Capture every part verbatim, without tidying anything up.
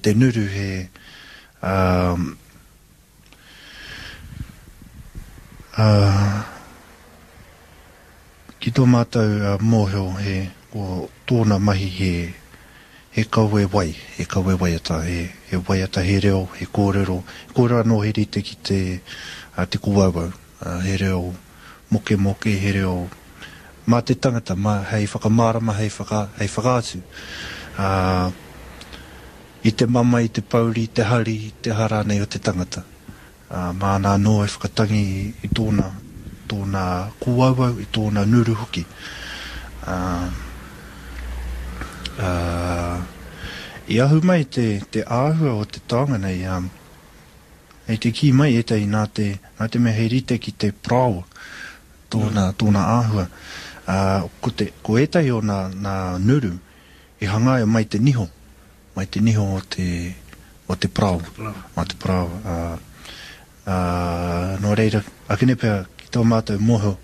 te nuru he um, uh, ki tō mātou uh, mōhio he ko tōna mahi he he kawe wai, he kawe waiata, he, he waiata, he reo, he kōrero, he kōrero anō he rite ki te, uh, te kōauau, uh, he reo moke moke, he reo mā te tangata, mā, hei whakamārama, hei, whaka, hei whakaatu. Uh, i te mama, i te pauri, i te hari, i te aha rānei o te tangata. Uh, māna anō e whakatangi i tōna, tōna kōauau, i tōna nuru hoki. Uh, uh, i ahu mai te, te āhua o te taonga nei, um, hei te kī mai ētahi nā te, nā te mea he rite ki te paraoa, tōna, mm. tōna āhua. Uh, ko, te, ko ētahi o nā, nā nuru i hangaia mai te niho, mai te niho o te, o te paraoa, o te paraoa. Uh, uh, nō reira, akene pea ki tō mātou mōhio,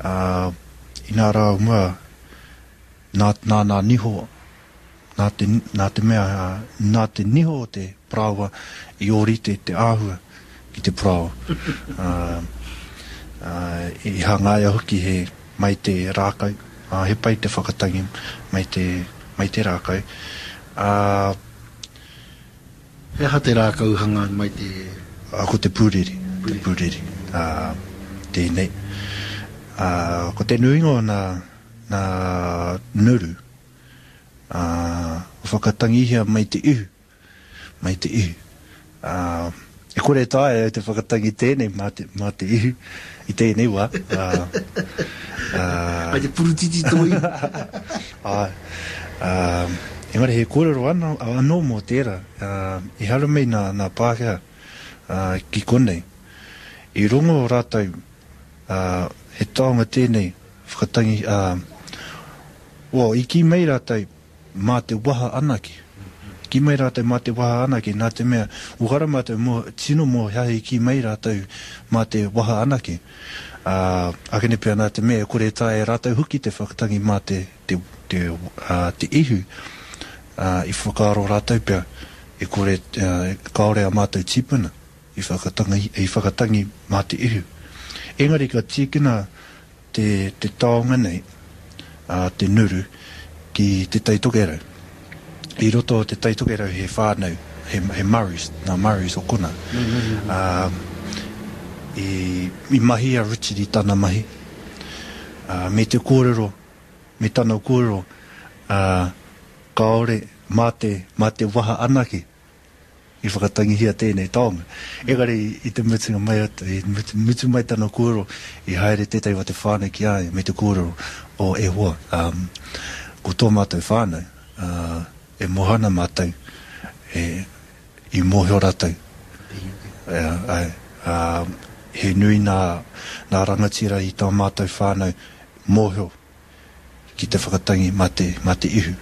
uh, i nā rā o mua, nā, nā nā niho, nā te, nā te mea, nā te niho o te paraoa i ōrite te āhua ki te paraoa. Uh, uh, i hangaia hoki he mai te rākau, uh, he pai te whakatangi mai te, mai te rākau. Uh, he aha te rākau hanga mai te... Uh, ko te pūriri, te pūriri, uh, tēnei. Uh, ko te nuinga o nā, nā nuru, uh, whakatangihia mai te ihu, mai te ihu. Uh, e kore taea e te whakatangi tēnei mā te, mā te ihu i tēnei wā. Uh, uh, Ai te purutiti tō ihu. Ai. Uh, engari he kōrero anō, anō mō tērā. Uh, i haere mai nā, nā Pākehā uh, ki konei. I rongo rātou uh, he taonga tēnei whakatangi, uh, well, i kī mai rātou mā te waha anake. Kī mai rātou mā te waha anake, nā te mea, uhara mātou mō, tino mō he aha i kī mai rātou mā te waha anake. Uh, akene pea nā te mea, e kore taea e rātou hoki te whakatangi mā te, te, te, uh, te ihu. Uh, i whakaaro rātou pea, e kore, uh, kāore a mātou tīpuna i whakatangi, i whakatangi mā te ihu. Engari ka tīkina te, te taonga nei, uh, te nuru, ki te Tai Tokerau. I roto o te Tai Tokerau he whānau, he, he Murrays, nā Murrays o kona. Mm-hmm. Uh, i, i mahi a Richard i tana mahi. Uh, me te kōrero, me tana kōrero, uh, kāore mā te, mā te waha anake i whakatangihia tēnei taonga. Engari i te mutunga mai, i mutu, mutu mai tana kōrero, i haere tētahi o te whānau ki a ia, me te kōrero o e hoa. Um, ko tō mātou whānau, uh, e mōhana mātou, e, i mōhio rātou. E, ai, uh, he nui nā, nā rangatira i tā mātou whānau mōhio ki te whakatangi mā te, mā te ihu.